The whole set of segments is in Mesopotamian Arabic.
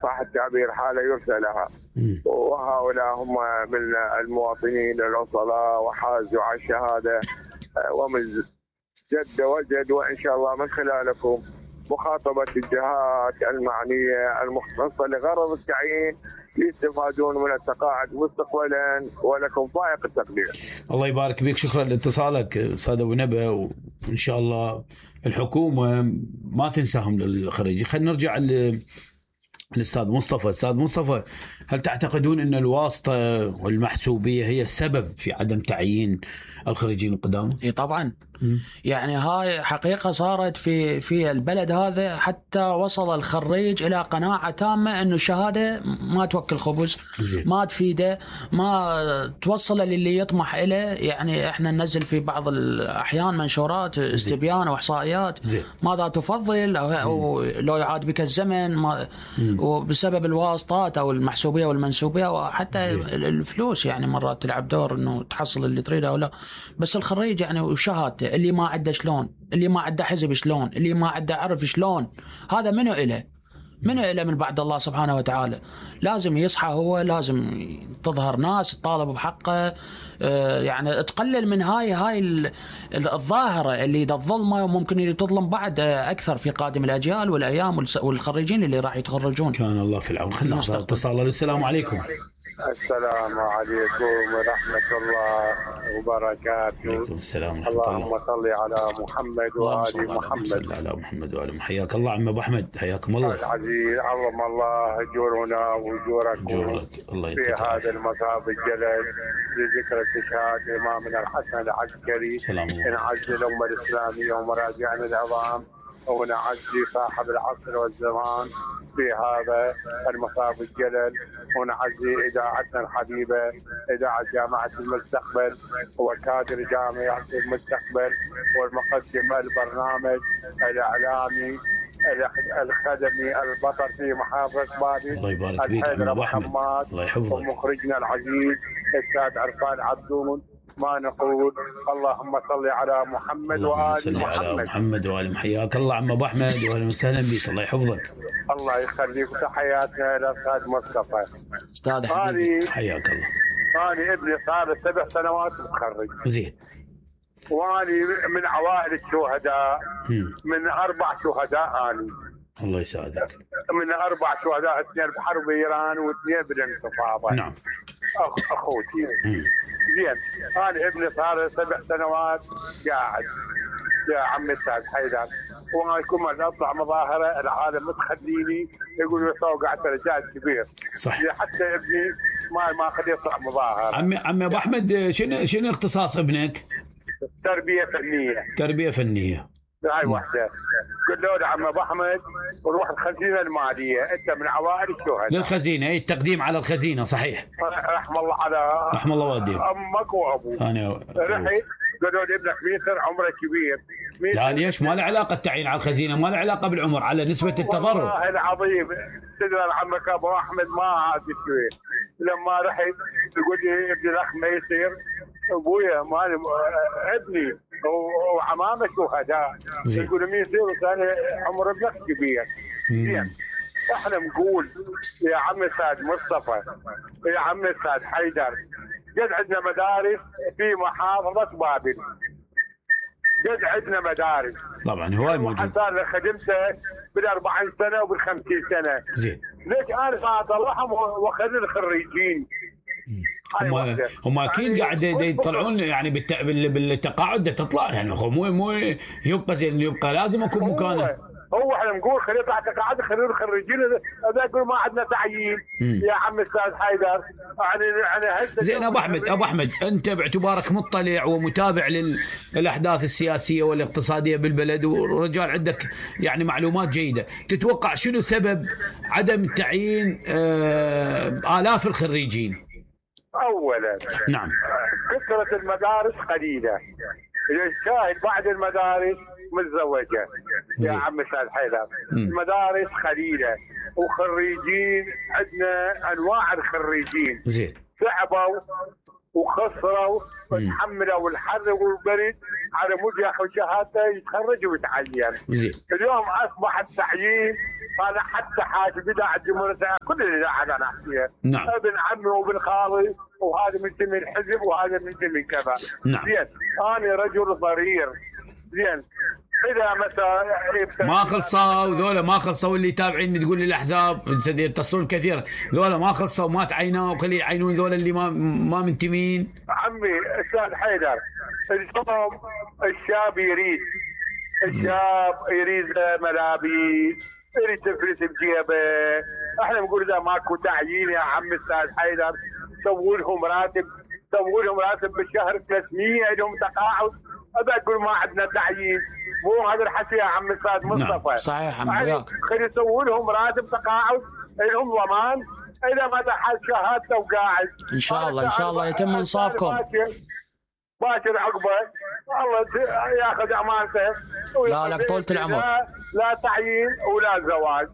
صح التعبير حالة يرثى لها. وهؤلاء هم من المواطنين الأصلاء وحازوا على الشهادة ومن جد وجد، وإن شاء الله من خلالكم مخاطبة الجهات المعنية المختصة لغرض التعيين يستفادون من التقاعد مستقبلا، ولكم فائق التقدير. الله يبارك بك، شكرا لاتصالك استاذ ابو نبا، وان شاء الله الحكومه ما تنساهم للخريجين. خلينا نرجع للاستاذ مصطفى. استاذ مصطفى، هل تعتقدون ان الواسطه والمحسوبيه هي السبب في عدم تعيين الخريجين القدامى؟ اي طبعا. يعني هاي حقيقة صارت في البلد هذا، حتى وصل الخريج إلى قناعة تامة إنه الشهادة ما توكل خبز، ما تفيده، ما توصل للي يطمح إليه. يعني إحنا ننزل في بعض الأحيان منشورات استبيان وإحصائيات ماذا تفضل أو لو يعاد بك الزمن، وبسبب الواسطات أو المحسوبية والمنسوبية وحتى الفلوس يعني مرات تلعب دور إنه تحصل اللي تريده أو لا. بس الخريج يعني وشهادته، اللي ما عنده شلون، اللي ما عنده حزب شلون، اللي ما عنده عرف شلون، هذا منو إله من بعد الله سبحانه وتعالى. لازم يصحى هو، لازم تظهر ناس تطالب بحقه، يعني تقلل من هاي الظاهرة اللي الظلمة، وممكن اللي تظلم بعد أكثر في قادم الأجيال والأيام والخريجين اللي راح يتخرجون. كان الله في العون. خلينا ناخذ اتصال. السلام عليكم. السلام عليكم ورحمة الله وبركاته. عليكم السلام ورحمة الله. اللهم صل على محمد وآل محمد. صل على محمد وآل محمد. حياك الله عم أبو أحمد، حياكم الله. العزيز عظم الله أجورنا وأجوركم في هذا المصاب الجلل لذكرى استشهاد إمامنا الحسن العسكري، نعزي الأمة الإسلامية ومراجعنا العظام، ونعزي صاحب العصر والزمان في هذا المصاب الجلل، ونعزي إذاعتنا الحبيبة إذاعة جامعة المستقبل وكادر جامعة المستقبل، والمقدم البرنامج الإعلامي الخدمي البطل في محافظة بابل الله يبارك فيك الحيدر محمد، الله يحفظك، ومخرجنا العزيز الأستاذ عرفان عبدون. ما نقول اللهم صل على محمد وآل محمد وآل. حياك الله عم أبو أحمد، وأهلا وسهلا بك، الله يحفظك. الله يخليك. تحياتنا إلى الأستاذ مصطفى. أستاذ حبيبي حياك الله. أنا ابني صار 7 سنوات متخرج. زين. وأني من عوائل الشهداء، من 4 شهداء أنا. الله يسعدك. من 4 شهداء، 2 بحرب إيران و2 بالانتفاضة. نعم. أخوتي. زين. أنا ابني صار 7 سنوات قاعد يا عم الأستاذ حيدر، وانا كل ما اطلع مظاهره العالم متخليني يقولوا توقعت رجال كبير. صح. حتى ابني ما خليه يطلع مظاهره. عمي ابو احمد، شنو اختصاص ابنك؟ تربيه فنيه. تربيه فنيه. هاي واحده. قلوا له عم ابو احمد روح الخزينه الماليه، انت من عوائل الشهداء. للخزينه، اي التقديم على الخزينه. صحيح. رحم الله على رحم الله والديك امك وابوك. رحت قالوا لي ابنك ميسر عمره كبير. لا ليش؟ ما له علاقه التعيين على الخزينه، ما له علاقه بالعمر، على نسبه التضرر. والله العظيم تدري عمك ابو احمد ما عاد شوي. لما رحت يقول لي ابني الاخ ميسر، ابويا مالي ابني وعمامه شهداء، يقول مين يصير ثاني عمر ابنك كبير. زين. احنا نقول يا عم السيد مصطفى، يا عم السيد حيدر، قد عندنا مدارس في محافظه بابل، قد عندنا مدارس طبعا هواي موجود. صار خدمته بال40 سنه وبال50 سنه. زين. ليش انا اطلعهم واخلي الخريجين؟ هم اكيد قاعد يطلعون يعني بالتقاعد تطلع، يعني مو يبقى زين، يبقى لازم اكون مكانه. هو احنا نقول خليه يطلع تقاعد، خليه الخريجين هذا يقول ما عندنا تعيين. يا عم استاذ حيدر يعني زين. ابو احمد انت باعتبارك مطلع ومتابع للاحداث السياسيه والاقتصاديه بالبلد، ورجال عندك يعني معلومات جيده، تتوقع شنو سبب عدم تعيين آلاف الخريجين؟ اولا نعم كثره المدارس قليله، الشاهد بعد المدارس متزوجه. يا عم استاذ حيدر المدارس قليله، وخريجين عندنا انواع الخريجين. زين. تعبوا وخسروا وتحملوا الحر والبرد على مود ياخذ شهادته يتخرج ويتعين. زين. اليوم اصبح التعيين انا حتى حاسب اذاعه الجمهوريه كل الاذاعات انا احكيها. نعم. ابن عمي وابن خالي وهذا منتمي الحزب وهذا منتمي كذا. نعم. زين انا رجل ضرير. زين اذا مثلا ما خلصوا ذولا، ما خلصوا اللي تابعين تقول لي الاحزاب يتصلون كثير، ذولا ما خلصوا ما تعينوا وخلي يعينون ذولا اللي ما منتمين. عمي استاذ حيدر اليوم الشاب يريد ملابس، يريد تفلس بجيبه. احنا نقول اذا ماكو تعيين يا عم استاذ حيدر سووا لهم راتب بالشهر 300 لهم تقاعد. ابى اقول ما عندنا تعيين، مو هذا الحكي يا عم استاذ مصطفى. صحيح عم وياك. خلي يسووا لهم راتب تقاعد، لهم ضمان اذا ما دخل شهادته وقاعد. ان شاء الله يتم انصافكم. باكر عقبه الله ياخذ امانته. لا لك طولة العمر. لا تعيين ولا زواج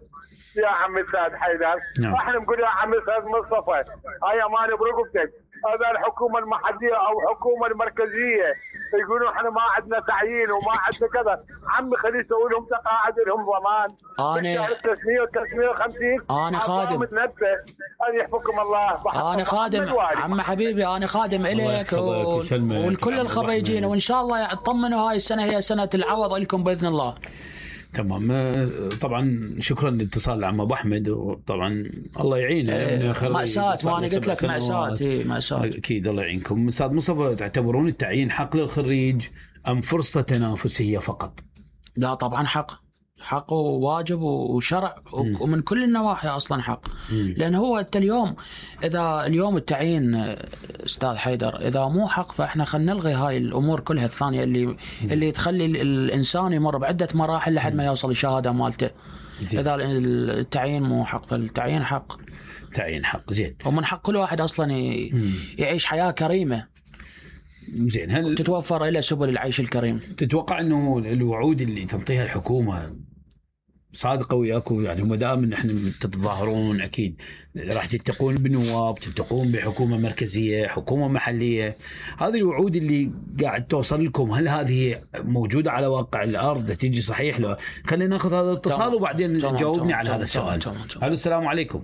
يا عم استاذ حيدر. احنا نقول يا عم استاذ مصطفى هاي امانه برقبتك. هذا الحكومه المحليه او الحكومه المركزيه يقولون احنا ما عندنا تعيين وما عندنا كذا. عمي خليه يسوي لهم تقاعد لهم ضمان. انا 300 و 350. انا خادم. ان يحفظكم الله. انا خادم عم حبيبي، انا خادم الك والكل الخريجين، وان شاء الله اطمنوا هاي السنه هي سنه العوض لكم باذن الله. تمام. طبعا شكرا لاتصال العم ابو احمد، وطبعا الله يعينه. مأساة، ما انا قلت لك مأساة. مأساة اكيد الله يعينكم. استاذ مصطفى تعتبرون التعيين حق للخريج ام فرصه تنافسيه فقط؟ لا طبعا حق وواجب وشرع ومن كل النواحي اصلا حق. لان هو انت اليوم التعيين استاذ حيدر اذا مو حق فاحنا خلينا نلغي هاي الامور كلها الثانيه اللي تخلي الانسان يمر بعده مراحل لحد ما يوصل الشهاده مالته. اذا التعيين مو حق فالتعيين حق. تعيين حق. زين. ومن حق كل واحد اصلا يعيش حياه كريمه. زين. هل تتوفر الى سبل العيش الكريم؟ تتوقع انه الوعود اللي تنطيها الحكومه صادقه وياكم؟ يعني ما دام نحن تتظاهرون اكيد راح تلتقون بنواب، تلتقون بحكومه مركزيه، حكومه محليه، هذه الوعود اللي قاعد توصل لكم هل هذه موجوده على واقع الارض؟ تيجي صحيح؟ لو خلينا ناخذ هذا الاتصال وبعدين جاوبني على هذا السؤال. الو السلام عليكم.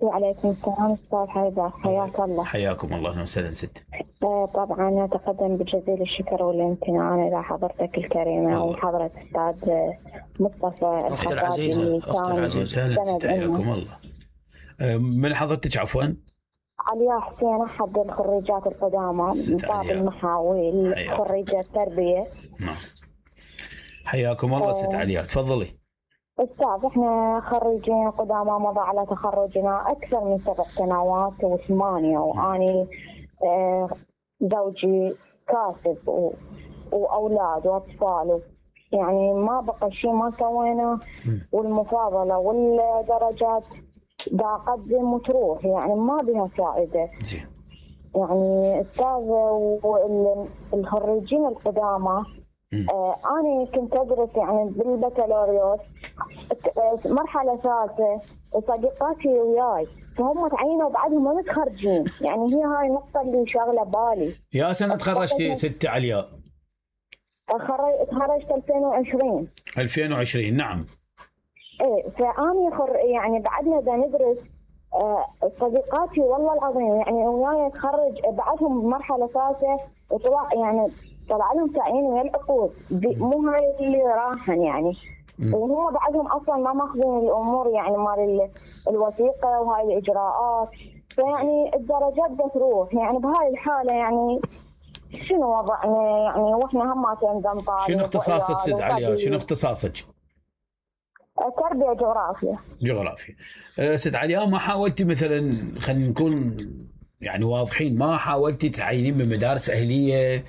وعليكم السلام استاذ حيدر، حياك الله. حياكم الله. اهلا وسهلا ست. طبعا اتقدم بجزيل الشكر والامتنان الى حضرتك الكريمه وحضره استاذ مصطفى اختي العزيزه. وسهلا ست. حياكم الله. من حضرتك عفوا؟ علياء حسين، احد الخريجات القدامى من باب المحاويل، خريجه تربيه. نعم. حياكم الله ست علياء، تفضلي. استاذ احنا خريجين قدامى مضى على تخرجنا اكثر من 7 سنوات و8، واني زوجي كاسب واولاد واطفال، يعني ما بقى شيء ما سوينا، والمفاضله والدرجات دا اقدم وتروح، يعني ما بها فائده. يعني استاذ الخريجين القدامى أنا كنت أدرس يعني بالبكالوريوس مرحلة ثالثة، وصديقاتي وياي فهم تعينوا بعدهم متخرجين، يعني هي هاي النقطة اللي شاغلة بالي. يا سنة تخرجتي ست علياء؟ تخرجت 2020. 2020 نعم. إيه فأني يعني بعدها دا ندرس. صديقاتي والله العظيم يعني وياي تخرج بعدهم مرحلة ثالثة وطلع يعني طلع لهم تعيين ويا العقود، مو هاي اللي راحن يعني. وهم بعدهم اصلا ما ماخذين الامور يعني مال الوثيقه وهاي الاجراءات، فيعني الدرجات بتروح يعني بهاي الحاله. يعني شنو وضعنا يعني واحنا هم تنظم طالب؟ شنو اختصاصك ست علياء؟ شنو اختصاصك؟ تربيه جغرافيا. جغرافيا. ست علياء ما حاولتي مثلا، خلينا نكون يعني واضحين، ما حاولتي تعينين بمدارس اهليه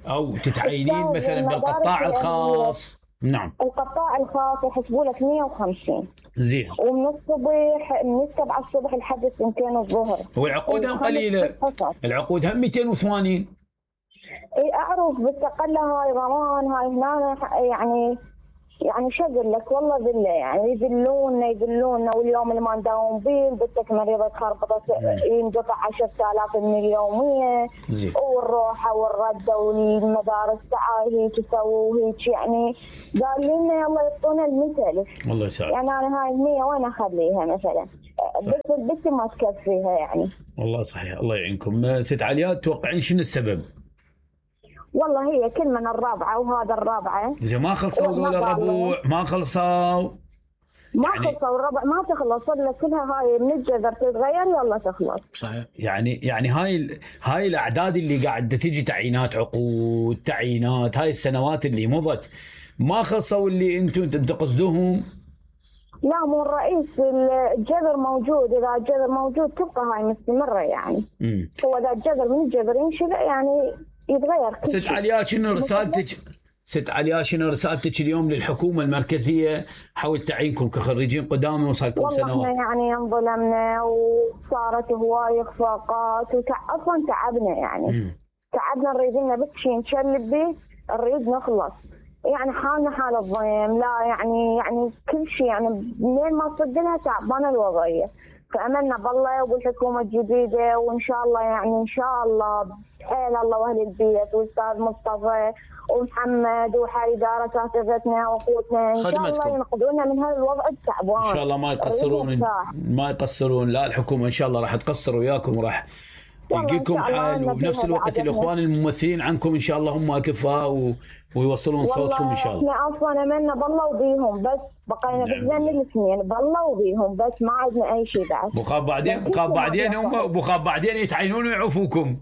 او تتعينين مثلا بالقطاع الخاص؟ نعم. القطاع الخاص يحسبوا لك 150. زين. ومن الصبح من 7 الصبح لحد 2 الظهر. والعقود هم قليله. العقود هم 280. اي اعرف، بس اقل هاي ضمان هاي هنا يعني يعني شو اقول لك والله ذله، يعني يذلونا واليوم اللي ما نداوم به بنتك مريضه خربطت ينقطع 10,000 من اليوميه والروحه والرده والمدارس تعال هيك تسووا هيك، يعني قال لنا يلا يعطونا المثل. الله يسعدك. يعني انا هاي 100 وين اخليها مثلا؟ بس البنت ما تكفيها يعني. والله صحيح. الله يعينكم. ست علياء تتوقعين شنو السبب؟ والله هي كل من الرابعه وهذا الرابعه زين ما خلصوا ذول الربوع، ما خلصوا خلصوا الربع ما تخلص ولا كلها هاي من الجذر تتغير يلا تخلص. صحيح. يعني هاي الاعداد اللي قاعده تجي تعيينات عقود تعيينات هاي السنوات اللي مضت ما خلصوا اللي انتم تقصدوهم. لا مو الرئيس الجذر موجود، اذا الجذر موجود تبقى هاي مستمره يعني. هو اذا الجذر من الجذر ينشل يعني يتغير. ست علياء شنو رسالتك؟ ست علياء شنو رسالتك اليوم للحكومه المركزيه حول تعيينكم كخريجين قدامى وصار لكم سنوات؟ والله احنا يعني انظلمنا وصارت هواي اخفاقات اصلا تعبنا يعني. تعبنا نريد لنا بس شيء نشلب به، نريد نخلص يعني حالنا حال الضيم. لا يعني كل شيء يعني منين ما صد لها تعبانه الوضعيه. فاملنا بالله وبالحكومه الجديده وان شاء الله يعني ان شاء الله بحيل الله واهل البيت والاستاذ مصطفى ومحمد وحال اداره اساتذتنا واخوتنا ان شاء الله ينقذونا من هذا الوضع التعبان. ان شاء الله ما يقصرون لا الحكومه ان شاء الله راح تقصر وياكم وراح تلقيكم حل، وبنفس الوقت الاخوان الممثلين عنكم ان شاء الله هم اكفاء ويوصلون صوتكم ان شاء الله. احنا اصلا املنا بالله وبيهم بس بقينا بحزن الاثنين بالله وبيهم بس ما عندنا اي شيء بعد. بخاب بعدين يتعينون ويعوفوكم.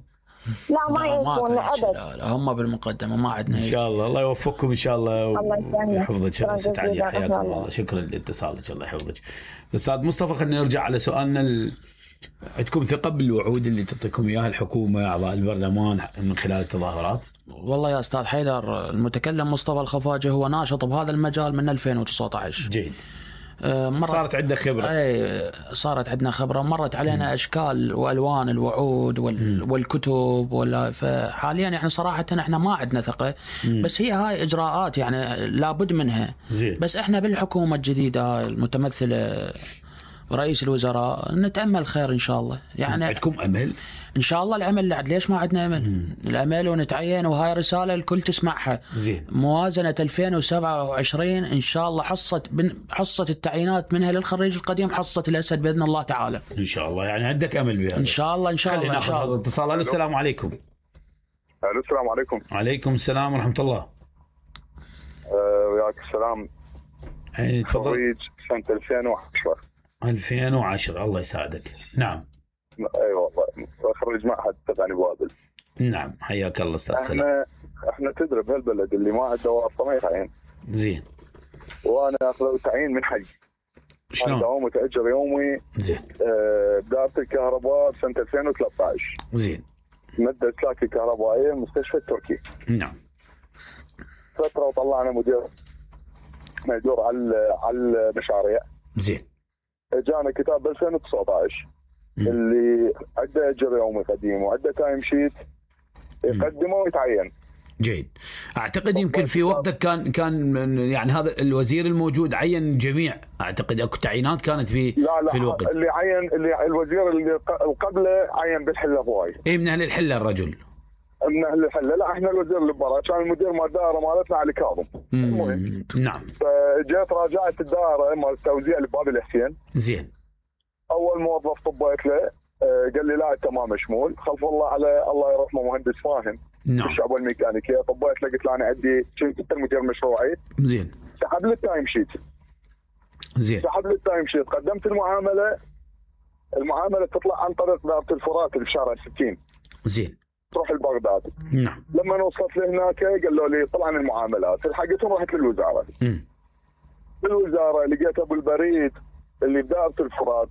لا ما يعرفون ابد. لا هم بالمقدمه ما عندنا ان شاء الله. الله يوفقكم ان شاء الله ويحفظك. ست علياء حياكم الله. شكرا لاتصالك الله يحفظك. استاذ مصطفى خلينا نرجع على سؤالنا. عندكم ثقه بالوعود اللي تعطيكم اياها الحكومه اعضاء البرلمان من خلال التظاهرات؟ والله يا استاذ حيدر المتكلم مصطفى الخفاجه هو ناشط بهذا المجال من 2019. جيد. صارت عندنا خبرة. صارت عندنا خبرة، مرت علينا أشكال وألوان الوعود والكتب فحاليا احنا صراحة احنا ما عندنا ثقة. بس هي هاي إجراءات يعني لابد منها. زين. بس احنا بالحكومة الجديدة المتمثلة رئيس الوزراء نتأمل خير إن شاء الله. يعني عندكم أمل؟ إن شاء الله الأمل لعد ليش ما عندنا أمل؟ الأمل ونتعين وهاي رسالة الكل تسمعها. زين. موازنة 2027 إن شاء الله حصة التعيينات منها للخريج القديم حصة الأسد بإذن الله تعالى. إن شاء الله يعني عندك أمل بهذا. إن شاء الله إن شاء الله. خلينا ناخذ هذا الاتصال. السلام عليكم. السلام عليكم. عليكم السلام ورحمة الله. وياك السلام. يعني تفضل. خريج سنة 2010. 2010 الله يساعدك. نعم. اي والله خريج معهد تبعني بوابل. نعم حياك الله استاذ سلام. احنا تدري بهالبلد اللي ما عنده واسطه ما يتعين. زين. وانا اخذ تعيين من حي. شلون؟ دوام متاجر يومي. زين. بدايه الكهرباء بسنه 2013. زين. ماده اسلاك الكهربائيه المستشفى التركي. نعم. فتره وطلعنا مدير ما يدور على المشاريع. زين. جانا كتاب ب 2019 اللي عنده اجر يومي قديم وعنده تايم شيت يقدمه ويتعين. جيد. اعتقد يمكن في وقتك كان يعني هذا الوزير الموجود عين جميع، اعتقد اكو تعيينات كانت في الوقت. اللي عين اللي الوزير اللي قبله عين بالحله هواي. اي من اهل الحله الرجل. من اهل الحله. لا احنا الوزير اللي برا كان المدير مال الدائره مالتنا علي كاظم. المهم نعم. فجيت راجعت الدائره مال التوزيع لباب الحسين. زين. اول موظف طبيت له قال لي لا انت ما مشمول. خلف الله على الله يرحمه مهندس فاهم. نعم. الشعب الميكانيكيه طبيت له قلت له انا عندي كنت مدير مشروعي. زين. سحب لي التايم شيت. زين. سحب لي التايم شيت قدمت المعامله تطلع عن طريق دائره الفرات اللي في شارع 60. زين. تروح لبغداد. نعم. لما وصلت لهناك قالوا لي طلع عن المعاملات الحقتهم رحت للوزاره. بالوزاره لقيت ابو البريد اللي بدائره الفرات.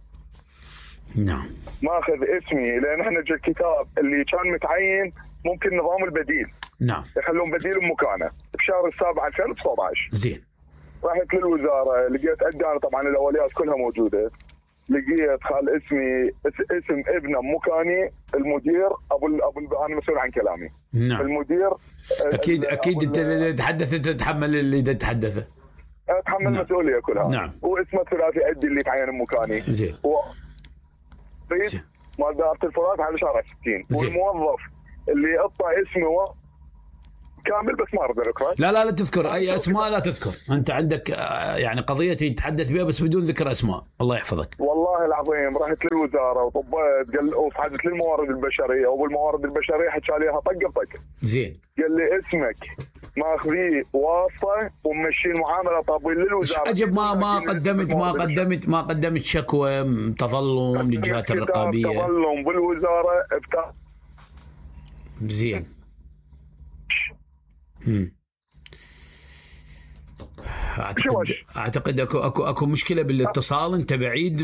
نعم. ماخذ اسمي لان احنا جا الكتاب اللي كان متعين ممكن نظام البديل. نعم. يخلون بديل بمكانه بشهر السابع 2019. زين. رحت للوزاره لقيت عندنا طبعا الاوليات كلها موجوده. لقيت خال اسم ابنه مكاني المدير ابو انا مسؤول عن كلامي. نعم. المدير اكيد انت تتحدث انت تتحمل اللي تتحدثه. اتحمل نعم. مسؤوليه كلها. نعم. واسمه الثلاثي عندي اللي تعين بمكاني. زين. رئيس مال دائره الفرات على شارع 60. والموظف اللي اعطى اسمه كامل بس ما ارد اذكره. لا تذكر اي اسماء، لا تذكر. انت عندك يعني قضيه تتحدث بها بس بدون ذكر اسماء. الله يحفظك. والله العظيم رحت للوزاره وطبيت وصعدت للموارد البشريه، وبالموارد البشريه حكى لي طق بطق. زين. قال لي اسمك ماخذيه واسطه وممشي المعامله طابين للوزاره. عجب ما قدمت شكوى تظلم للجهات الرقابيه. تظلم بالوزاره زين. اعتقد اكو مشكله بالاتصال. انت بعيد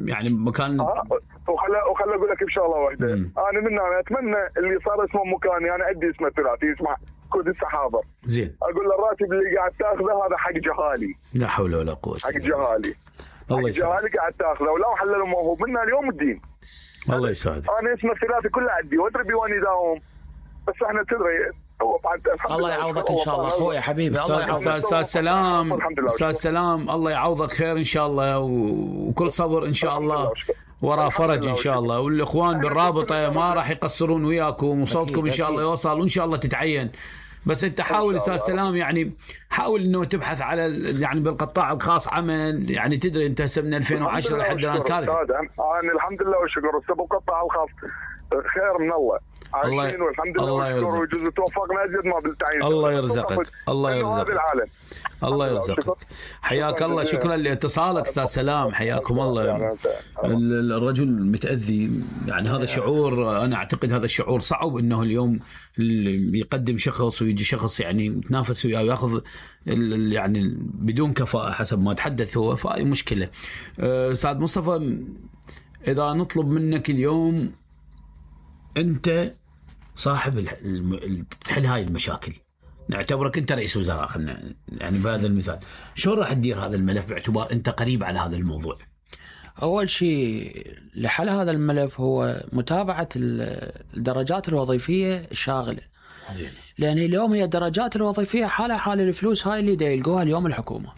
يعني مكان. وخلى اقول لك بشغله واحده. انا من اتمنى اللي صار اسمه مكاني، انا عندي اسمه ثلاثي يسمع كود السحابه. زين. اقول له الراتب اللي قاعد تاخذه هذا حق جهالي. لا حول ولا قوه. حق جهالي. الله يسعدك. جهالي قاعد تاخذه ولو حللوا موهوب منها اليوم الدين. الله يسعدك. انا اسمه الثلاثي كله عندي وادري بيواني داوم، بس احنا تدري الله يعوضك ان شاء الله اخوي حبيبي. الله يعوضك. استاذ سلام الله يعوضك خير ان شاء الله، وكل صبر ان شاء الله ورا فرج ان شاء الله. والاخوان بالرابطه ما راح يقصرون وياكم، وصوتكم ان شاء الله يوصل وان شاء الله تتعين. بس انت حاول استاذ سلام يعني حاول انه تبحث على يعني بالقطاع الخاص عمل. يعني تدري انت هسه من 2010 لحد الان كارثه. انا الحمد لله والشكر بالقطاع الخاص خير من الله. عايشين والحمد لله والشكر ويجوز توفقنا ازيد ما بالتعيين. الله يرزقك. الله يرزقك. الله يرزقك. حياك الله. شكرا لاتصالك استاذ سلام. حياكم الله. الرجل متاذي يعني هذا شعور. انا اعتقد هذا الشعور صعب انه اليوم يقدم شخص ويجي شخص يعني يتنافس وياه وياخذ يعني بدون كفاءه حسب ما تحدث هو. فهي مشكله. استاذ مصطفى اذا نطلب منك اليوم انت صاحب تحل هاي المشاكل، نعتبرك انت رئيس وزراء خلنا يعني بهذا المثال، شو راح تدير هذا الملف باعتبار انت قريب على هذا الموضوع؟ اول شيء لحل هذا الملف هو متابعه الدرجات الوظيفيه الشاغله. زين. لان اليوم هي الدرجات الوظيفيه حالها حال الفلوس هاي اللي دا يلقوها اليوم الحكومه.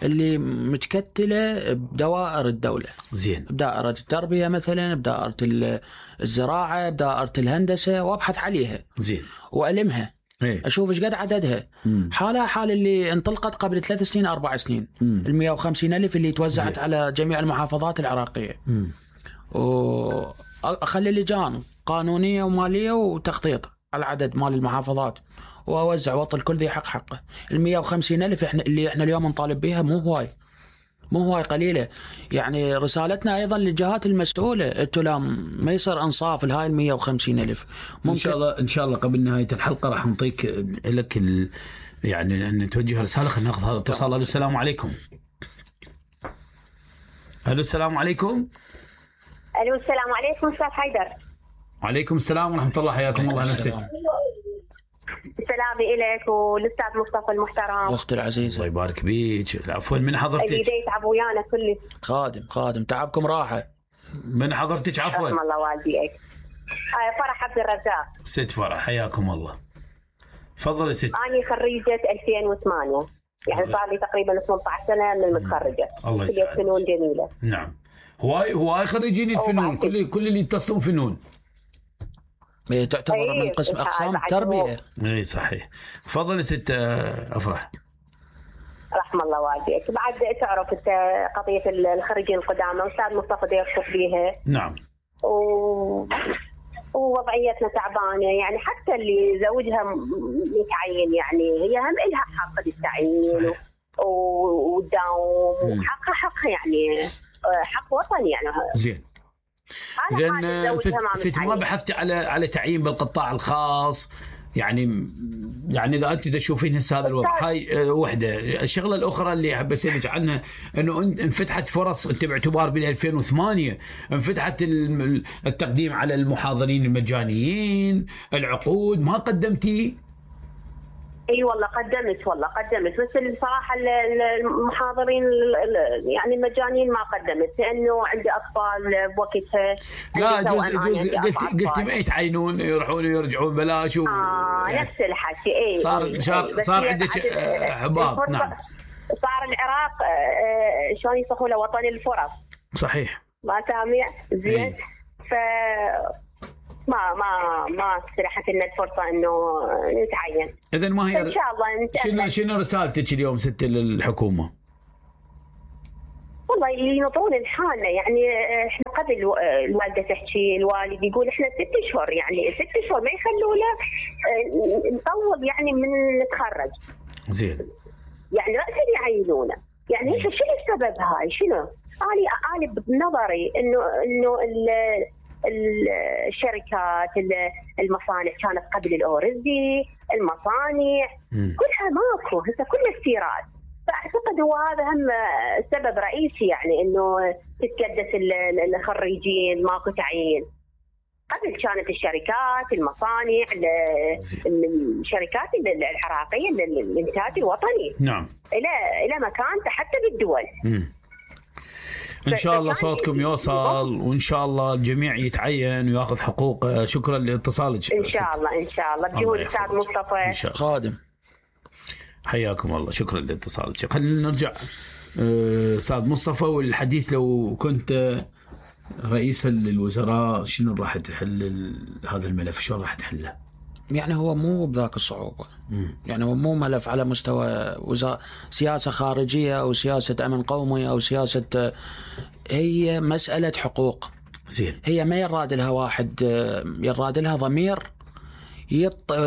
اللي متكتله بدوائر الدوله. زين. بدائره التربيه مثلا، بدائره الزراعه، بدائره الهندسه، وابحث عليها. زين. والمها. اشوف ايش قد عددها. حالها حال اللي انطلقت قبل 3 سنين 4 سنين. ال 150,000 اللي توزعت زين. على جميع المحافظات العراقيه. واخلي لجان قانونيه وماليه وتخطيط على عدد مال المحافظات، واوزع واعطي الكل ذي حق حقه. ال 150,000 اللي احنا اليوم نطالب بها مو هواي قليله. يعني رسالتنا ايضا للجهات المسؤوله، انتم لا ما يصير انصاف لهاي ال 150,000. ان شاء الله قبل نهايه الحلقه راح نعطيك لك يعني ان توجه رساله. خلينا ناخذ هذا اتصال. الو السلام عليكم. الو السلام عليكم. الو السلام عليكم استاذ حيدر. وعليكم السلام ورحمه الله. حياكم الله. اهلا وسهلا. سلامي إليك والاستاذ مصطفى المحترم. اختي العزيزه. الله يبارك بيك. عفوا من حضرتك؟ اللي يتعب ويانا كله. خادم تعبكم راحه. من حضرتك عفوا؟ رحم الله والديك. فرح عبد الرزاق. ست فرح حياكم الله. تفضلي ست. أنا خريجة 2008 يعني صار لي تقريبا 18 سنة من المتخرجة. الله يسعدك. فنون جميلة. نعم. هواي خريجين الفنون كل اللي يتصلون فنون. هي تعتبر من قسم أقسام التربية. اي صحيح. تفضلي ست أفرح. رحم الله والديك. بعد تعرف انت قضية الخريجين القدامى أستاذ مصطفى يرفض بيها. نعم. ووضعيتنا تعبانة يعني حتى اللي زوجها متعين يعني هي هم إلها حق بالتعيين والدوام حق يعني حق وطني يعني. زين ست ما بحثتي على تعيين بالقطاع الخاص يعني اذا انت تشوفين هسه هذا الوضع هاي وحده. الشغله الاخرى اللي احب اسالك عنها انه انفتحت فرص انت باعتبار بال 2008 انفتحت التقديم على المحاضرين المجانيين العقود ما قدمتي؟ اي والله قدمت بس الصراحه المحاضرين يعني المجانيين ما قدمت لانه عندي اطفال بوقتها. لا قلت ما يتعينون يروحون ويرجعون بلاش نفس الحكي. اي صار عندك احباط. نعم صار العراق شلون يصحوا له وطن الفرص. صحيح. ما سامع زين. ف ما سرحت لنا الفرصه انه نتعين. اذا ما هي ان شاء الله شنو رسالتك اليوم ست للحكومه؟ والله ينطون لحالنا، يعني احنا قبل الوالده تحكي، الوالد يقول احنا 6 اشهر، يعني 6 اشهر ما يخلونا نطول يعني من نتخرج. زين. يعني رأسا يعينونا، يعني شنو السبب هاي؟ شنو؟ أنا بنظري إنه الشركات المصانع كانت قبل الأورزي، المصانع كلها ماكو، هسه كلها استيراد. فأعتقد هو هذا هم سبب رئيسي، يعني إنه تتكدس الخريجين، ماكو تعيين. قبل كانت الشركات، المصانع، الشركات العراقية للإنتاج الوطني. نعم. إلى مكانته حتى بالدول. إن شاء الله صوتكم يوصل، وإن شاء الله الجميع يتعين ويأخذ حقوقه. شكرا لاتصالك. إن شاء الله إن شاء الله بجهود الأستاذ مصطفى خادم. حياكم الله، شكرا لاتصالك. خلينا نرجع أستاذ مصطفى، والحديث لو كنت رئيس الوزراء شنو راح تحل هذا الملف؟ شلون راح تحله؟ يعني هو مو بذاك الصعوبة. يعني هو مو ملف على مستوى سياسة خارجية أو سياسة أمن قومي أو سياسة، هي مسألة حقوق. زين. هي ما يراد لها واحد، يراد لها ضمير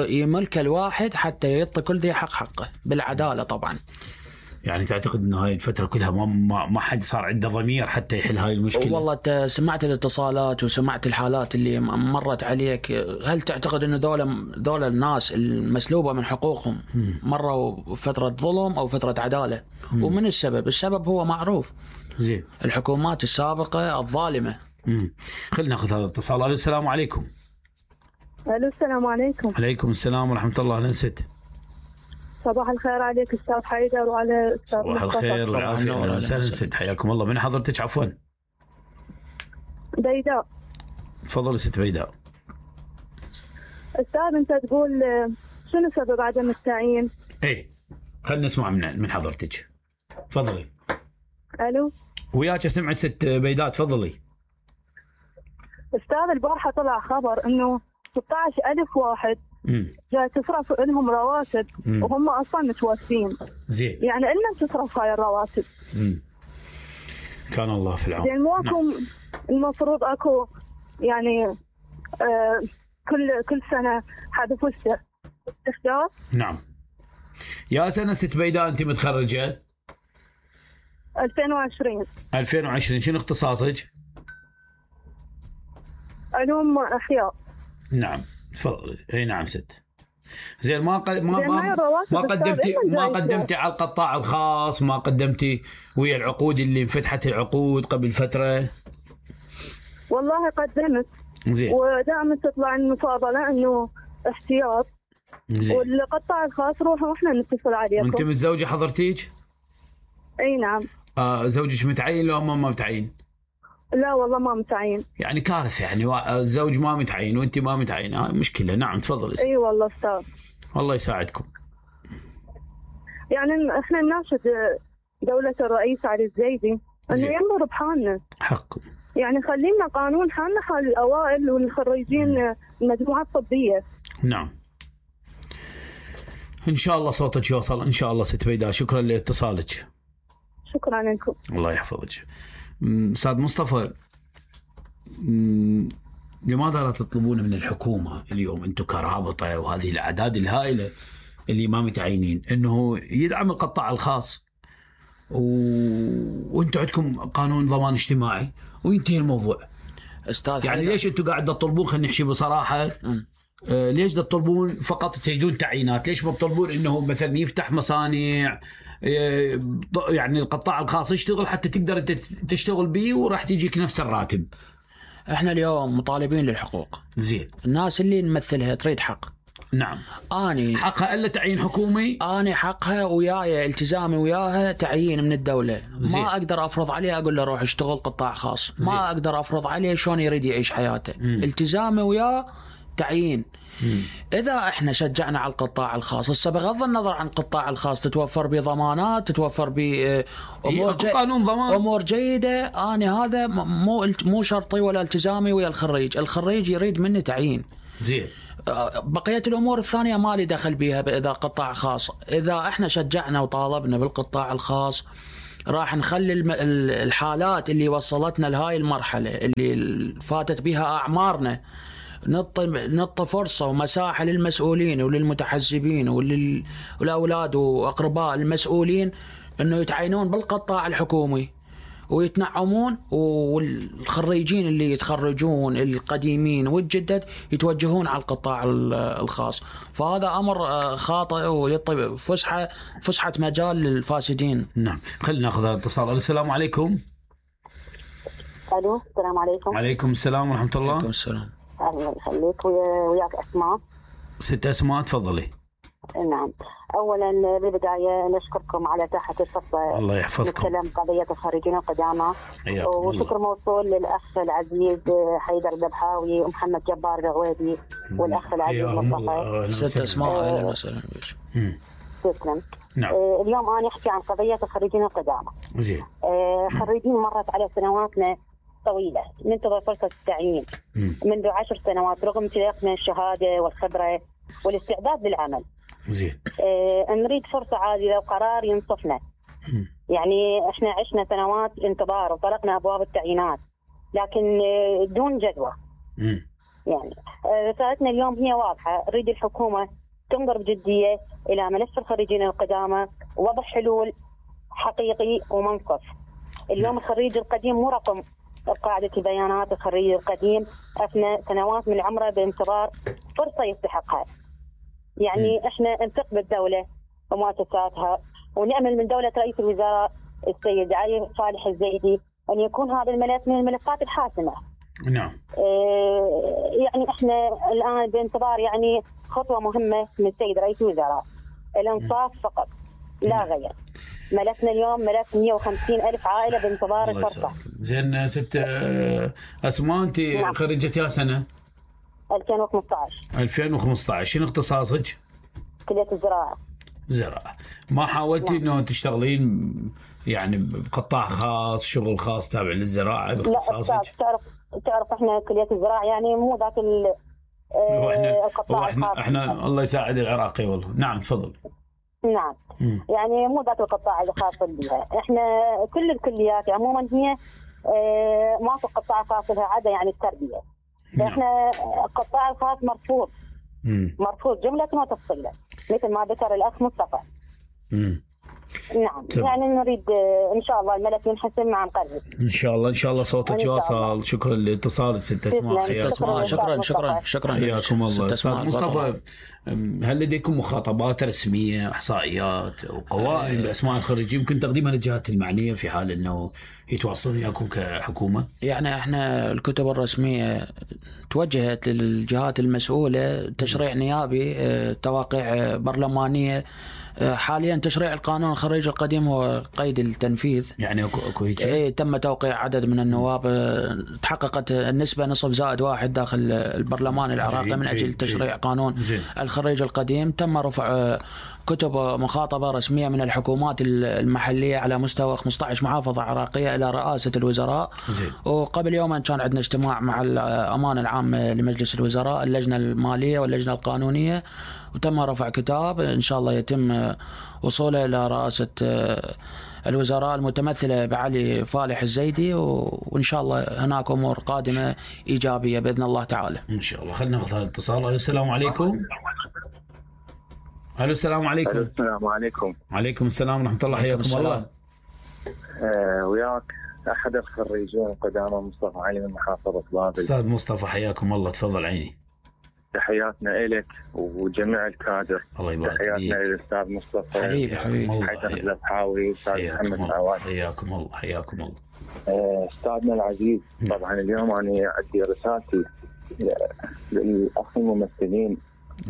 يملك الواحد حتى يعطي كل ذي حقه بالعدالة طبعا. يعني تعتقد انه هاي الفتره كلها ما حد صار عنده ضمير حتى يحل هاي المشكله؟ والله انت سمعت الاتصالات وسمعت الحالات اللي مرت عليك، هل تعتقد انه دول الناس المسلوبه من حقوقهم مروا فتره ظلم او فتره عداله؟ ومن السبب هو معروف. زين. الحكومات السابقه الظالمه. خلينا ناخذ هذا الاتصال. السلام عليكم. السلام عليكم. عليكم السلام ورحمه الله. اهلا ست. صباح الخير عليك استاذ حيدر وعلى استاذ صباح الخير والعافيه. اهلا وسهلا ست، حياكم الله. من حضرتك عفوا؟ بيداء. تفضل ست بيداء. استاذ انت تقول شنو سبب عدم التعيين؟ ايه خلينا نسمع من حضرتك. تفضلي. الو. وياك سمعت ست بيداء، تفضلي. استاذ البارحه طلع خبر انه 16,000 واحد جاي تصرف لهم رواتب وهم اصلا متوفين. زين. يعني لنا تصرف هاي الرواتب. كان الله في العون. زين مو اكو المفروض اكو يعني كل سنه حذف استخدام. نعم. يا سنه ست بيداء انت متخرجه؟ 2020. 2020. شنو اختصاصك؟ علوم احياء. نعم تفضلي. اي نعم ست. زين. ما قدمتي على القطاع الخاص؟ ما قدمتي ويا العقود اللي انفتحت العقود قبل فتره؟ والله قدمت. زين. ودائما تطلع المفاضله انه احتياط. زين. والقطاع الخاص روحوا واحنا نتصل عليكم. وانت متزوجه حضرتيك؟ اي نعم. زوجك متعين لو ما متعين؟ لا والله ما متعين. يعني كارثه، يعني الزوج ما متعين وانت ما متعينه، مشكله. نعم تفضل. اي والله استاذ. الله يساعدكم. يعني احنا نناشد دولة الرئيس علي الزيدي انه ينظر بحالنا. حقكم. يعني خلينا قانون حالنا حال الاوائل والخريجين المجموعات الطبيه. نعم. ان شاء الله صوتك يوصل ان شاء الله ست بيداء. شكرا لاتصالك. شكرا لكم. الله يحفظك. استاذ مصطفى، لماذا لا تطلبون من الحكومه اليوم انتم كرابطه وهذه الاعداد الهائله اللي ما متعينين انه يدعم القطاع الخاص وانتم عندكم قانون ضمان اجتماعي وينتهي الموضوع؟ استاذ يعني ليش انتم قاعد تطلبون، خلينا نحكي بصراحه، ليش تطلبون فقط تريدون تعيينات؟ ليش ما تطلبون انه مثلا يفتح مصانع، يعني القطاع الخاص يشتغل حتى تقدر انت تشتغل به وراح تجيك نفس الراتب؟ احنا اليوم مطالبين للحقوق. زين. الناس اللي نمثلها تريد حق. نعم. اني حقها الا تعيين حكومي. اني حقها وياي التزامي وياها تعيين من الدوله. زين. ما اقدر افرض عليه اقول له روح اشتغل قطاع خاص. زين. ما اقدر افرض عليه شلون يريد يعيش حياته. التزامي وياه تعيين. إذا إحنا شجعنا على القطاع الخاص، هسه بغض النظر عن القطاع الخاص تتوفر بضمانات، تتوفر بأمور جيدة. أنا هذا مو شرطي ولا التزامي ويا الخريج. الخريج يريد مني تعيين زين. بقية الأمور الثانية ما لي دخل بيها. إذا قطاع خاص، إذا إحنا شجعنا وطالبنا بالقطاع الخاص، راح نخلي الحالات اللي وصلتنا لهاي المرحلة اللي فاتت بها أعمارنا نعطي فرصة ومساحة للمسؤولين وللمتحزبين والأولاد وأقرباء المسؤولين أنه يتعينون بالقطاع الحكومي ويتنعمون، والخريجين اللي يتخرجون القديمين والجدد يتوجهون على القطاع الخاص. فهذا أمر خاطئ ويعطي فسحة مجال للفاسدين. نعم. خلينا ناخذ اتصال. السلام عليكم. الو السلام عليكم. وعليكم السلام ورحمة الله. وعليكم السلام. الله يخليك. وياك أسماء. ست أسماء تفضلي. نعم. أولا بالبداية نشكركم على تاحة الفرصة. الله يحفظكم. نتكلم قضية الخريجين القدامى. وشكر موصول للأخ العزيز حيدر الذبحاوي ومحمد جبار العويدي والأخ العزيز مصطفى. ست أسماء. أهلا وسهلا. تسلم. نعم. اليوم أنا أحكي عن قضية الخريجين القدامى. زين. خريجين مرت على سنواتنا طويلة ننتظر فرصة التعيين منذ 10 سنوات رغم امتلاكنا الشهادة والخبرة والاستعداد للعمل. زين. نريد فرصة عاجلة وقرار ينصفنا. يعني احنا عشنا سنوات انتظار وطرقنا أبواب التعيينات لكن دون جدوى. يعني رسالتنا اليوم هي واضحة. نريد الحكومة تنظر بجدية إلى ملف الخريجين القدامى ووضع حلول حقيقي ومنصف. اليوم الخريج القديم مو رقم قاعدة البيانات. الخريج القديم أثنى سنوات من عمره بانتظار فرصة يستحقها. يعني احنا نثق بالدولة ومؤسساتها ونأمل من دولة رئيس الوزراء السيد علي صالح الزيدي أن يكون هذا الملف من الملفات الحاسمة. نعم. يعني احنا الآن بانتظار يعني خطوة مهمة من السيد رئيس الوزراء. الانصاف فقط لا غير. ملفنا اليوم ملف 150,000 عائلة بانتظار الفرصة. زين. ست أسماء أنت نعم. خريجة يا سنة؟ 2015. 2015. شنو اختصاصك؟ كلية الزراعة. زراعة. ما حاولتي نعم. انه تشتغلين يعني بقطاع خاص، شغل خاص تابع للزراعة باختصاصك؟ لا تعرف احنا كلية الزراعة يعني مو ذاك القطاع الخاص. احنا الله يساعد العراقي والله. نعم تفضل. نعم. يعني مو ذاك القطاع اللي خاص بها. احنا كل الكليات عموما هي ماكو قطاع خاص لها عدا يعني التربية. احنا القطاع الخاص مرفوض جملة وتفصيلا مثل ما ذكر الأخ مصطفى. نعم. يعني نريد إن شاء الله الملف ينحسم مع قريب. إن شاء الله صوتك واصل. شكرا لاتصالك ست أسماء. شكرا. حياكم الله. أستاذ مصطفى، هل لديكم مخاطبات رسمية، إحصائيات وقوائم بأسماء الخريجين يمكن تقديمها للجهات المعنية في حال أنه يتواصلون وياكم كحكومة؟ يعني احنا الكتب الرسمية توجهت للجهات المسؤولة، تشريع نيابي، تواقيع برلمانية. حاليا تشريع القانون الخريج القديم هو قيد التنفيذ. يعني اكو هيك؟ تم توقيع عدد من النواب، تحققت النسبة 0.1 داخل البرلمان العراقي من أجل تشريع قانون الخريج القديم. تم رفع كتب مخاطبة رسمية من الحكومات المحلية على مستوى 15 محافظة عراقية إلى رئاسة الوزراء. وقبل يومين كان عندنا اجتماع مع الأمانة العامة لمجلس الوزراء، اللجنة المالية واللجنة القانونية، وتم رفع كتاب إن شاء الله يتم وصوله إلى رئاسة الوزراء المتمثلة بعلي فالح الزيدي، وإن شاء الله هناك أمور قادمة إيجابية بإذن الله تعالى إن شاء الله. خلينا نأخذ هذا الاتصال. السلام عليكم. السلام عليكم. السلام عليكم. وعليكم السلام ورحمة الله. حياكم الله. وياك أحد الخريجين القدامى مصطفى علي من محافظة بابل. أستاذ مصطفى حياكم الله. تفضل عيني. تحياتنا إلك وجميع الكادر. الله يبارك فيك. تحياتنا للأستاذ مصطفى حبيبي حيدر الذبحاوي والأستاذ محمد العوادي. حياكم الله. حياكم الله. أستاذنا العزيز، طبعا اليوم أنا عندي رسالتي للأخ الممثلين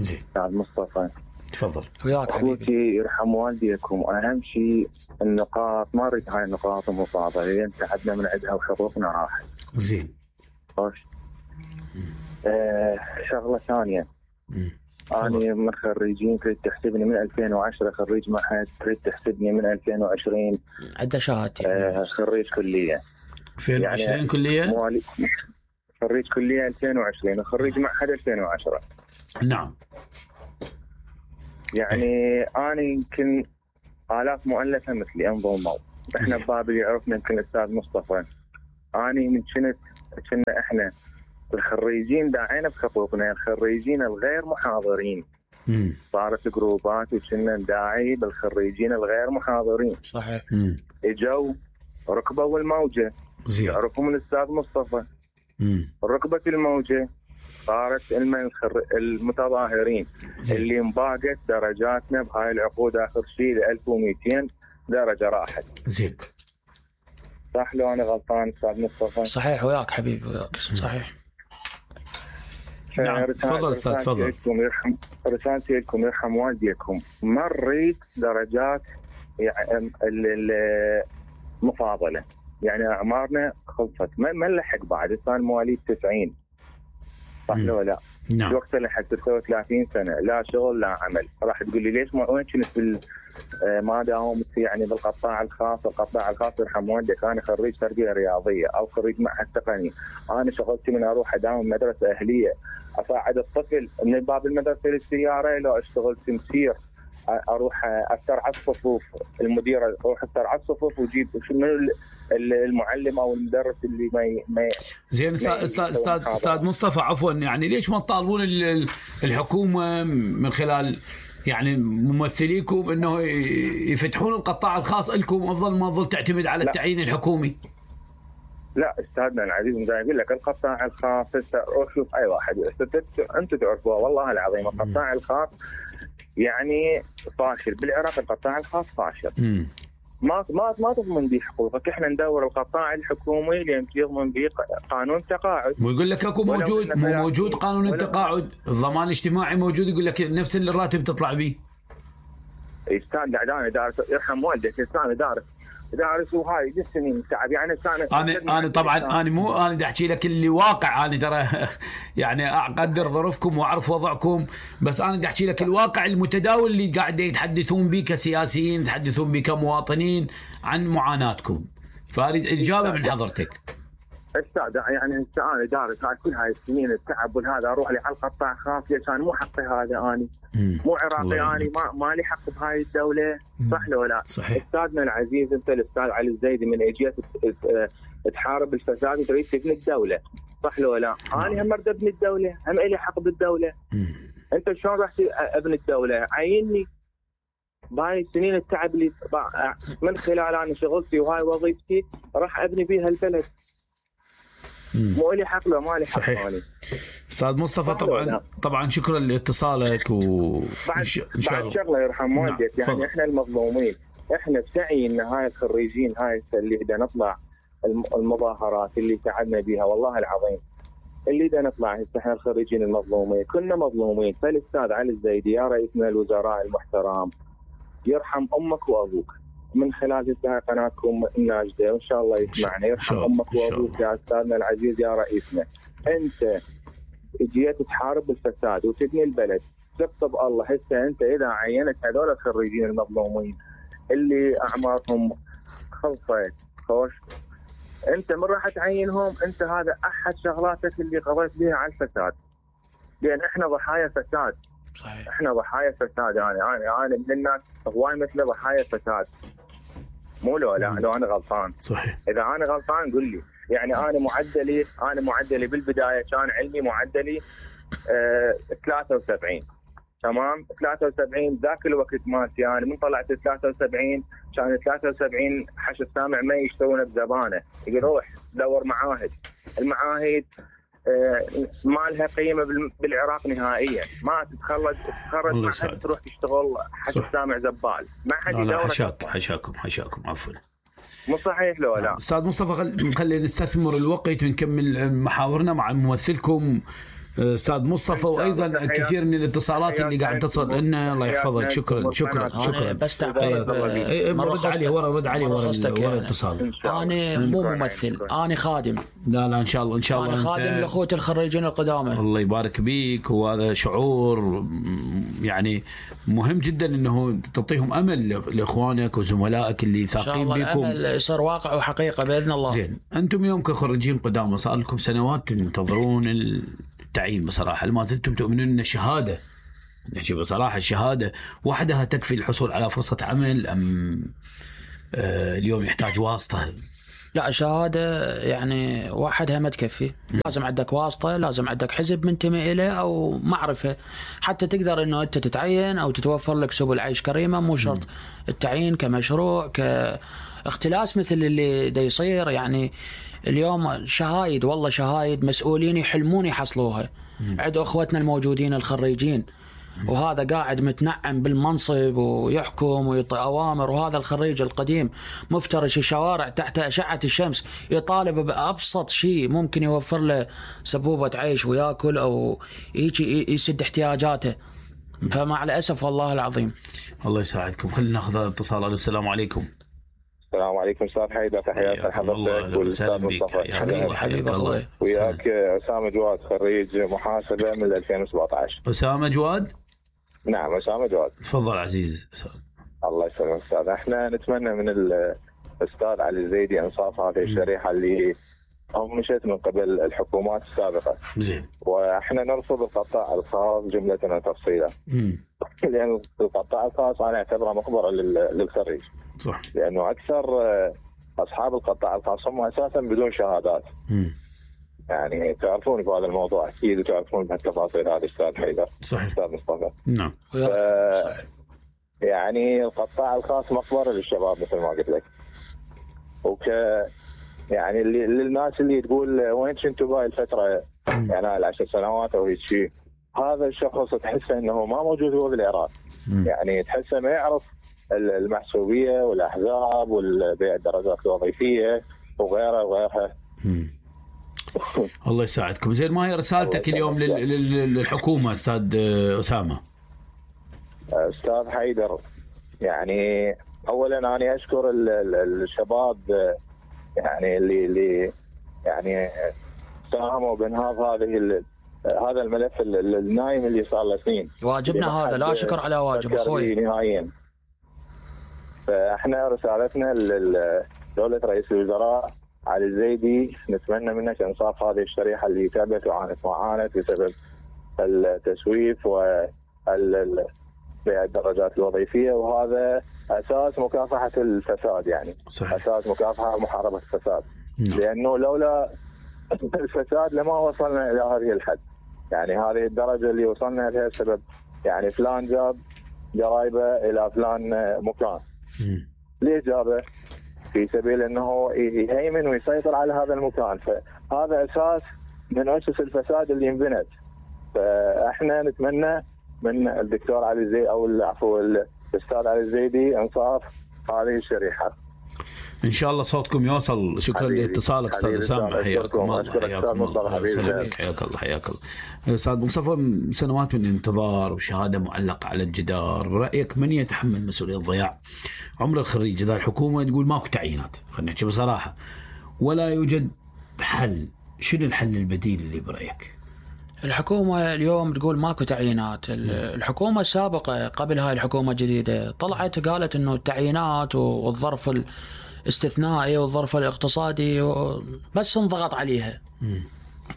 أستاذ مصطفى. تفضل. وياك حبيبي. أخوتي يرحم والديكم، وأهم شيء النقاط ما أريد هاي النقاط المفاضلة لأن تعبنا من عندها وحقوقنا راحت. زين. شغله ثانيه. أنا من خريجين تريد تحسبني من 2010 خريج معهد، تريد تحسبني من 2020 عدة شهادتي خريج كلية 2020 يعني كلية؟ خريج كلية 2020 وخريج معهد 2010. نعم. يعني أنا يمكن آلاف مؤلفة مثلي انضموا. احنا ببابل يعرفنا يمكن الأستاذ مصطفى. أنا من كنا احنا الخريجين داعينا بحقوقنا، الخريجين الغير محاضرين. صارت جروبات وكنا نداعي بالخريجين الغير محاضرين. صحيح. اجوا ركبوا الموجة، يعرفوا من الأستاذ مصطفى. ركبت الموجة صارت المتظاهرين اللي انباقت درجاتنا بهاي العقود آخر شيء ل 1200 درجة راحت. زين. صح لو أنا غلطان أستاذ مصطفى؟ صحيح وياك حبيبي وياك. صحيح. نعم تفضل أستاذ تفضل. رسالتي لكم يرحم والديكم، مريت درجات يعني المفاضلة، يعني أعمارنا خلصت ما نلحق بعد. صار مواليد 90 صح لو لا؟ نعم. وقت لحق 39 سنة لا شغل لا عمل. راح تقول لي ليش وين كنت ما داومت يعني بالقطاع الخاص؟ القطاع الخاص يرحم والديك أنا خريج تربية رياضية أو خريج معهد تقني. أنا شغلتي من أروح أداوم مدرسة أهلية أساعد الطفل من باب المدرسة للسيارة، لو اشتغل تمسير اروح استرعى الصفوف، المدير اروح استرعى الصفوف وجيب من المعلم او المدرس اللي ما زين. استاذ مصطفى عفوا، يعني ليش ما تطالبون الحكومه من خلال يعني ممثليكم انه يفتحون القطاع الخاص لكم افضل ما تظل تعتمد على التعيين الحكومي؟ لا استاذنا العزيز، زي اقول لك القطاع الخاص شوف اي واحد انتم تعرفوه والله العظيم القطاع الخاص يعني فاشل بالعراق. القطاع الخاص فاشل. ما تضمن به حقوقك. احنا ندور القطاع الحكومي لين يضمن به قانون التقاعد. ويقول لك اكو موجود قانون التقاعد، الضمان الاجتماعي موجود، يقول لك نفس الراتب تطلع به. استاذ انا دارس يرحم والديك، استاذ دارس وهاي 10 سنين تعب يعني. انا طبعا انا بدي احكي لك اللي واقع. انا ترى يعني اقدر ظروفكم واعرف وضعكم، بس انا بدي احكي لك الواقع المتداول اللي قاعد يتحدثون به كسياسيين، يتحدثون به كمواطنين عن معاناتكم، فاريد اجابه من حضرتك. استاذ يعني انا دارس هاي كل هاي السنين التعب والهذا اروح لي على القطاع خاص عشان مو حقي هذا. اني مو عراقي، اني ما لي حق بهاي الدوله. صح لو لا؟ صحيح. استاذنا العزيز انت الاستاذ علي الزيدي من اجيت تحارب الفساد وتريد تبني الدوله. صح لو لا؟ انا هم اريد ابني الدوله، هم لي حق بالدوله. انت شلون راح ابني الدوله؟ عيني بهاي السنين التعب اللي من خلال انا شغلتي وهاي وظيفتي راح ابني بيها البلد. مو لي حق له ما لي حق. صحيح. استاذ مصطفى طبعا شكرا لاتصالك بعد شغله يرحم والديك يعني احنا المظلومين، احنا بسعينا هاي الخريجين هاي اللي بدنا نطلع المظاهرات اللي تعبنا بها والله العظيم اللي بدنا نطلع هسه احنا الخريجين المظلومين كنا مظلومين. فالاستاذ علي الزيدي يا رئيسنا الوزراء المحترم يرحم امك وابوك من خلال قناتكم الناجده وان شاء الله يسمعنا. يرحم امك وابوك يا استاذنا العزيز يا رئيسنا. انت جيت تحارب بالفساد وتبني البلد، ثق بالله هسه انت اذا عينت هذول الخريجين المظلومين اللي اعمارهم خلصت خوش، انت من راح تعينهم؟ انت هذا احد شغلاتك اللي قضيت بها على الفساد، لان احنا ضحايا فساد. صحيح. احنا ضحايا فساد. انا من الناس هواي مثل ضحايا فساد. مو لو لا لو انا غلطان. صحيح. اذا انا غلطان قل لي. يعني انا معدلي بالبدايه كان علمي معدلي 73 تمام. 73 ذاك الوقت مالتي انا من طلعت 73 كان 73 حش السامع ما يشتغلون بزبانه، يقول روح دور معاهد. المعاهد ما لها قيمه بالعراق نهائيا. ما تتخرج ما تروح تشتغل حش السامع زبال، ما حد يدورك. حشاكم عفوا. مو صحيح لو لا؟ استاذ مصطفى خلينا نستثمر الوقت ونكمل محاورنا مع ممثلكم استاذ مصطفى، وايضا كثير من الاتصالات اللي قاعد تصل لنا. الله يحفظك. شكرا. بس تعقيب رد علي ورا الاتصال. انا مو ممثل، انا خادم. لا ان شاء الله انا خادم لاخوتي الخريجين القدامى. الله يبارك بيك، وهذا شعور يعني مهم جدا انه تعطيهم امل لاخوانك وزملائك اللي ثاقين بكم. ان شاء الله الامل يصير واقع وحقيقه باذن الله. زين، انتم يوم كخريجين قدامى صار لكم سنوات تنتظرون التعيين. بصراحه ما زلتم تؤمنون ان الشهاده، نحكي بصراحه، الشهاده وحدها تكفي الحصول على فرصه عمل، ام اليوم يحتاج واسطه؟ لا، شهادة يعني وحدها ما تكفي، لازم عندك واسطة، لازم عندك حزب منتمي إليه أو معرفة حتى تقدر إنه أنت تتعين أو تتوفر لك سبل عيش كريمة. مو شرط التعيين كمشروع كاختلاس مثل اللي دا يصير. يعني اليوم شهايد، والله شهايد مسؤولين يحلمون يحصلوها. عند أخوتنا الموجودين الخريجين، وهذا قاعد متنعم بالمنصب ويحكم ويعطي أوامر، وهذا الخريج القديم مفترش الشوارع تحت أشعة الشمس يطالب بأبسط شيء ممكن يوفر له سبوبة عيش ويأكل أو يسد احتياجاته. فمع الأسف والله العظيم. الله يساعدكم. خلينا ناخذ هذا الاتصال. السلام عليكم. السلام عليكم استاذ حيدر، تحياتي لحضرتك والاستاذ مصطفى. حبيبي الله. وياك اسامه جواد، خريج محاسبه من 2017. اسامه جواد؟ نعم اسامه جواد. تفضل عزيز. الله يسلمك استاذ. احنا نتمنى من الاستاذ علي الزيدي انصاف هذه الشريحه اللي مشت من قبل الحكومات السابقه. زين. واحنا نرفض القطاع الخاص جمله وتفصيلا. لان القطاع الخاص انا اعتبره مقبره للخريج. صح. لانه اكثر اصحاب القطاع الخاص هم اساسا بدون شهادات. يعني تعرفون بهذا الموضوع اكيد، وتعرفون بهالتفاصيل هذه استاذ حيدر. صحيح. استاذ مصطفى. نعم. يعني القطاع الخاص مقبره للشباب مثل ما قلت لك. يعني للناس اللي تقول وين كنتوا بهاي الفتره، يعني 10 سنوات او هيك شيء، هذا الشخص تحسه انه ما موجود هو بالعراق. يعني تحسه ما يعرف المحسوبيه والاحزاب والبيع الدرجات الوظيفيه وغيرها. الله يساعدكم. زين، ما هي رسالتك اليوم للحكومه استاذ اسامه؟ استاذ حيدر، يعني اولا انا اشكر الشباب يعني اللي يعني ساهموا بانهاض هذا الملف النايم اللي صار له سنين. واجبنا هذا، لا شكر على واجب اخوي. نهائيا. فاحنا رسالتنا لدولة رئيس الوزراء علي الزيدي، نتمنى منك انصاف هذه الشريحة اللي تعبت وعانت وعانت بسبب التسويف بيع الدرجات الوظيفية، وهذا أساس مكافحة الفساد. يعني صحيح. أساس مكافحة ومحاربة الفساد. لأنه لولا الفساد لما وصلنا إلى هذه الحد. يعني هذه الدرجة اللي وصلنا لها بسبب يعني فلان جاب جرايبه إلى فلان مكان. ليه جابه؟ في سبيل أنه يهيمن ويسيطر على هذا المكان. فهذا أساس من أسس الفساد اللي انبنت. فإحنا نتمنى من الدكتور علي الزيدي أو الأستاذ علي الزيدي انصاف هذه الشريحة. ان شاء الله صوتكم يوصل. شكرا لاتصالك استاذ اسامه. حياكم الله. حياك الله. استاذ مصطفى، سنوات من انتظار وشهاده معلقه على الجدار، برايك من يتحمل مسؤوليه ضياع عمر الخريج اذا الحكومه تقول ماكو تعيينات؟ خلينا نحكي بصراحه، ولا يوجد حل. شنو الحل البديل اللي برايك؟ الحكومة اليوم تقول ماكو تعيينات. الحكومة السابقة قبل هاي الحكومة الجديدة طلعت قالت انه التعيينات والظرف الاستثنائي والظرف الاقتصادي بس انضغط عليها.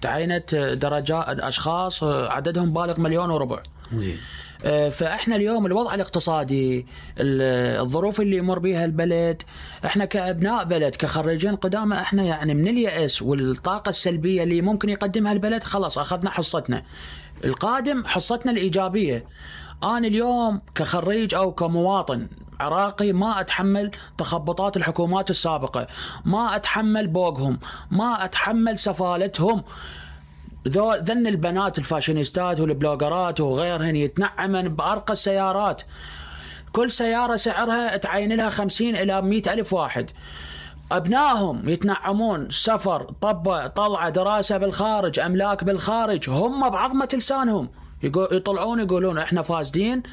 تعينت درجات اشخاص عددهم بالغ 1.4 مليون. زين. فاحنا اليوم الوضع الاقتصادي، الظروف اللي يمر بها البلد، احنا كابناء بلد كخريجين قدامى، احنا يعني من اليأس والطاقه السلبيه اللي ممكن يقدمها البلد خلاص اخذنا حصتنا. القادم حصتنا الايجابيه. انا اليوم كخريج او كمواطن عراقي ما اتحمل تخبطات الحكومات السابقه، ما اتحمل بوقهم، ما اتحمل سفالتهم. ذن البنات الفاشينيستات والبلوغرات وغيرهن يتنعمن بأرقى السيارات، كل سيارة سعرها تعين لها 50 إلى 100 ألف واحد. أبنائهم يتنعمون سفر طلعة دراسة بالخارج أملاك بالخارج، هم بعظمة لسانهم يطلعون يقولون إحنا فاسدين،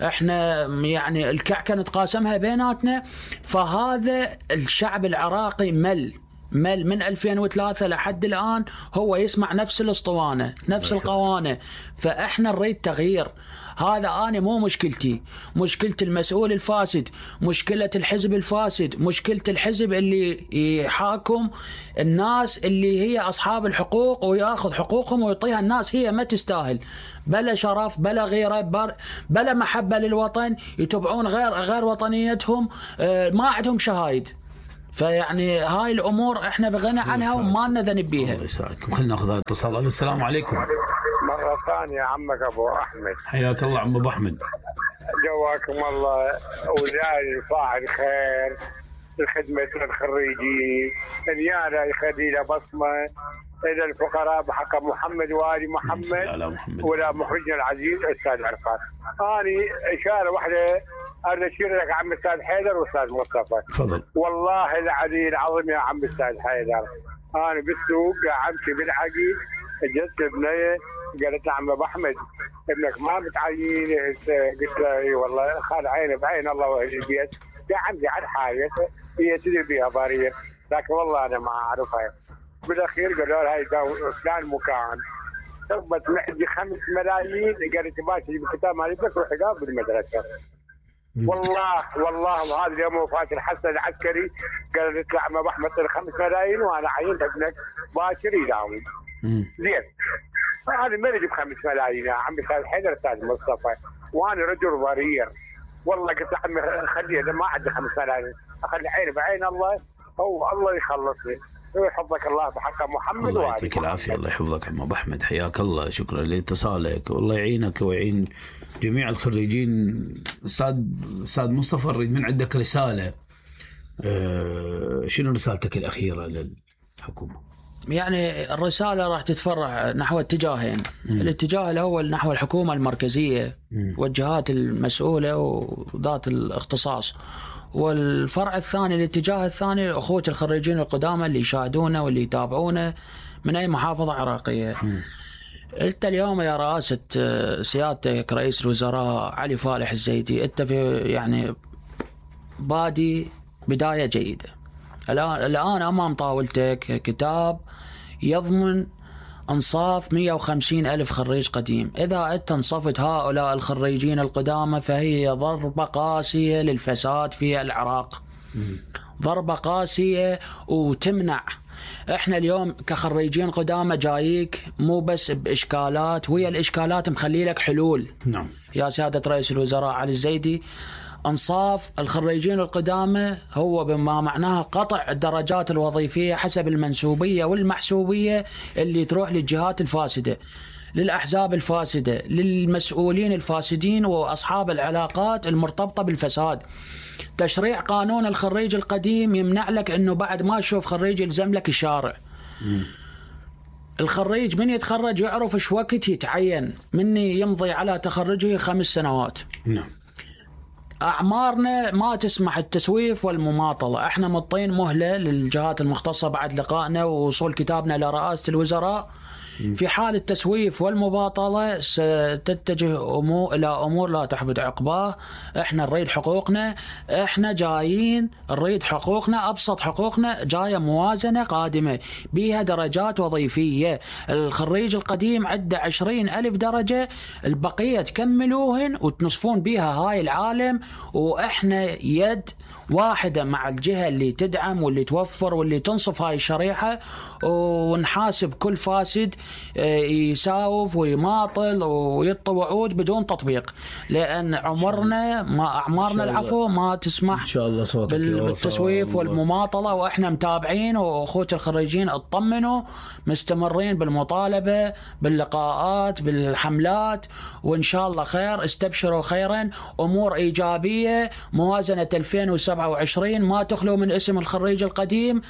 إحنا يعني الكعكة نتقاسمها بيناتنا. فهذا الشعب العراقي مل من 2003 لحد الآن هو يسمع نفس الاسطوانة نفس القوانة. فإحنا نريد تغيير. هذا أنا مو مشكلتي، مشكلة المسؤول الفاسد، مشكلة الحزب الفاسد، مشكلة الحزب اللي يحاكم الناس اللي هي أصحاب الحقوق ويأخذ حقوقهم ويعطيها الناس هي ما تستاهل، بلا شرف بلا غيرة بلا محبة للوطن، يتبعون غير وطنيتهم، ما عندهم شهايد. فيعني هاي الأمور إحنا بغنى عنها وما لنا ذنب بيها. الله يساعدكم. خلينا ناخذ اتصال. السلام عليكم. مرة ثانية عمك أبو أحمد. حياك الله عم أبو أحمد. جواكم الله وجاي فاعل خير لخدمة الخريجين، اليانا يخلي له بصمة إلى الفقراء بحق محمد وآل محمد ولا مخرجنا العزيز أستاذ عرفات. أنا إشارة واحدة أنا أشير لك عم أستاذ حيدر وأستاذ مصطفى. تفضل. والله العلي العظيم يا عم أستاذ حيدر، أنا بالسوق أمشي بالعقيد جت بنية قالت عم أبو أحمد ابنك ما متعين، قلت له اي والله خال عيني بعين الله واهل البيت، يا عمي على حاجه هي تدري بها باريه، لكن والله انا ما اعرفها. بالاخير قالوا لها هاي فلان مكان ثبت معدي 5 ملايين، قالت ماشي بالكتاب مالي بس روح قابل المدرسه. والله وهذا اليوم وفاه الحسن العسكري قالت له عم ابو احمد 5 ملايين وانا عينت ابنك باكر يداوم. زين هذا ما يجيب 5 ملايين يا عمي استاذ حيدر استاذ مصطفى، وانا رجل ضرير والله قلت له عمي خليه اذا ما عندي 5 ملايين اخلي عيني بعين الله، هو الله يخلصني ويحفظك الله بحق محمد. الله يعطيك العافيه. الله يحفظك عم ابو احمد، حياك الله، شكرا لاتصالك والله يعينك ويعين جميع الخريجين. استاذ مصطفى نريد من عندك رساله، شنو رسالتك الاخيره للحكومه؟ يعني الرسالة راح تتفرع نحو اتجاهين. الاتجاه الأول نحو الحكومة المركزية والجهات المسؤولة وذات الاختصاص، والفرع الثاني الاتجاه الثاني أخوة الخريجين القدامى اللي يشاهدونا واللي يتابعونا من أي محافظة عراقية. أنت اليوم يا رئاسة سيادتك رئيس الوزراء علي فالح الزيدي، أنت في يعني بادي بداية جيدة. الآن أمام طاولتك كتاب يضمن انصاف 150,000 خريج قديم. إذا أنت انصفت هؤلاء الخريجين القدامى فهي ضربة قاسية للفساد في العراق، ضربة قاسية وتمنع. احنا اليوم كخريجين قدامى جايك مو بس بإشكالات، ويا الإشكالات مخلي لك حلول. نعم يا سيادة رئيس الوزراء علي الزيدي، انصاف الخريجين القدامى هو بما معناها قطع الدرجات الوظيفية حسب المنسوبية والمحسوبية اللي تروح للجهات الفاسدة، للأحزاب الفاسدة، للمسؤولين الفاسدين وأصحاب العلاقات المرتبطة بالفساد. تشريع قانون الخريج القديم يمنع لك أنه بعد ما تشوف خريج يلزم لك الشارع. الخريج من يتخرج يعرف ايش وقت يتعين، مني يمضي على تخرجه 5 سنوات. نعم. أعمارنا ما تسمح التسويف والمماطلة. احنا مطين مهلة للجهات المختصة بعد لقائنا ووصول كتابنا لرئاسة الوزراء. في حال التسويف والمباطلة ستتجه إلى أمور لا تحبط عقباه. احنا نريد حقوقنا، احنا جايين نريد حقوقنا، أبسط حقوقنا جاية موازنة قادمة بها درجات وظيفية. الخريج القديم عنده 20,000 درجة، البقية تكملوهن وتنصفون بها هاي العالم، وإحنا يد واحدة مع الجهة اللي تدعم واللي توفر واللي تنصف هاي الشريحة، ونحاسب كل فاسد يساوف ويماطل ويطي وعود بدون تطبيق، لأن أعمارنا العفو ما تسمح إن شاء الله بالتسويف والمماطلة. وإحنا متابعين، وأخوة الخريجين اطمنوا مستمرين بالمطالبة باللقاءات بالحملات، وإن شاء الله خير. استبشروا خيرا، أمور إيجابية. موازنة 2027 ما تخلو من اسم الخريج القديم.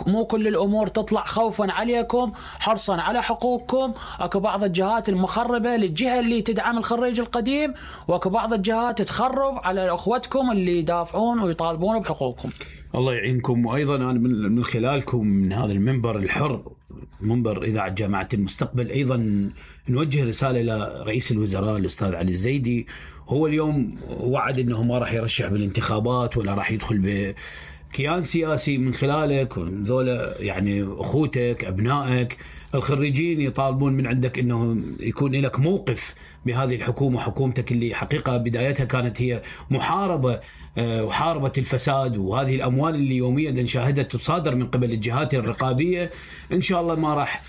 مو كل الأمور تطلع خوفا عليكم، حرصا على حقوق حقوقكم. اكو بعض الجهات المخربه للجهه اللي تدعم الخريج القديم، واكو بعض الجهات تخرب على اخوتكم اللي يدافعون ويطالبون بحقوقكم. الله يعينكم. وايضا انا من خلالكم من هذا المنبر الحر، منبر اذاعه جامعه المستقبل، ايضا نوجه رساله الى رئيس الوزراء الاستاذ علي الزيدي. هو اليوم وعد انه ما راح يرشح بالانتخابات ولا راح يدخل بكيان سياسي. من خلالك ذولا يعني اخوتك ابنائك الخريجين يطالبون من عندك انه يكون لك موقف بهذه الحكومه، حكومتك اللي حقيقه بدايتها كانت هي محاربه وحاربت الفساد، وهذه الاموال اللي يوميا نشاهدها تصادر من قبل الجهات الرقابيه ان شاء الله ما راح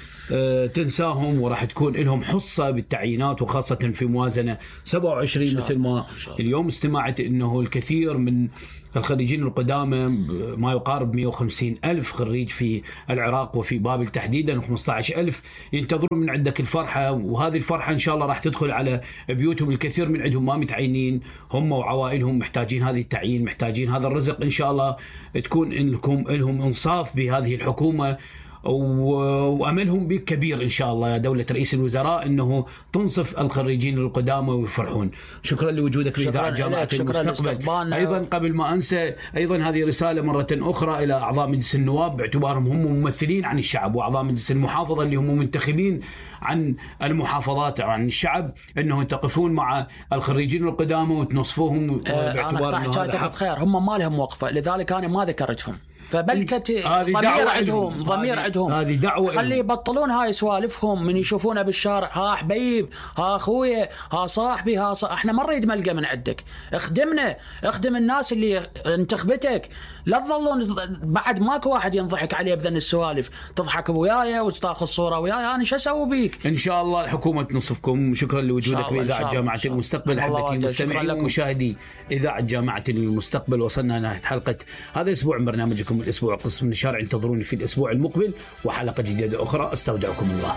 تنساهم، وراح تكون لهم حصة بالتعيينات، وخاصة في موازنة 27 مثل ما اليوم استمعت أنه الكثير من الخريجين القدامى ما يقارب 150 ألف خريج في العراق وفي بابل تحديدا، 15 ألف ينتظرون من عندك الفرحة. وهذه الفرحة إن شاء الله راح تدخل على بيوتهم. الكثير من عندهم ما متعينين، هم وعوائلهم محتاجين هذه التعيين، محتاجين هذا الرزق. إن شاء الله تكون لهم إنصاف بهذه الحكومة، وأملهم بك كبير إن شاء الله يا دولة رئيس الوزراء أنه تنصف الخريجين القدامى ويفرحون. شكرا لوجودك في إذاعة جامعة المستقبل. أيضا قبل ما أنسى، أيضا هذه رسالة مرة أخرى إلى أعضاء مجلس النواب باعتبارهم هم ممثلين عن الشعب، وأعضاء مجلس المحافظة اللي هم منتخبين عن المحافظات عن الشعب، أنه تقفون مع الخريجين القدامى وتنصفوهم باعتبار أنا قطعت بخير. هم ما لهم وقفة، لذلك أنا ما ذكرتهم. فبلكت ضمير عندهم هذه دعوة، خلي يبطلون هاي سوالفهم من يشوفونا بالشارع. ها حبيب، ها اخويا، ها صاحبي، احنا ما نريد ملقى من عندك. اخدمنا، اخدم الناس اللي انتخبتك. لا تظلون بعد ماكو واحد ينضحك عليه بذن السوالف، تضحك وياي وتاخذ صوره وياي. انا شو اسوي بيك؟ ان شاء الله الحكومه تنصفكم. شكرا لوجودك باذاعه جامعه المستقبل. احبتي المستمعين ومشاهدي اذاعه جامعه المستقبل، وصلنا نهايه حلقه هذا الاسبوع من برنامجكم الاسبوع قسم النشار. انتظروني في الاسبوع المقبل وحلقه جديده اخرى. استودعكم الله.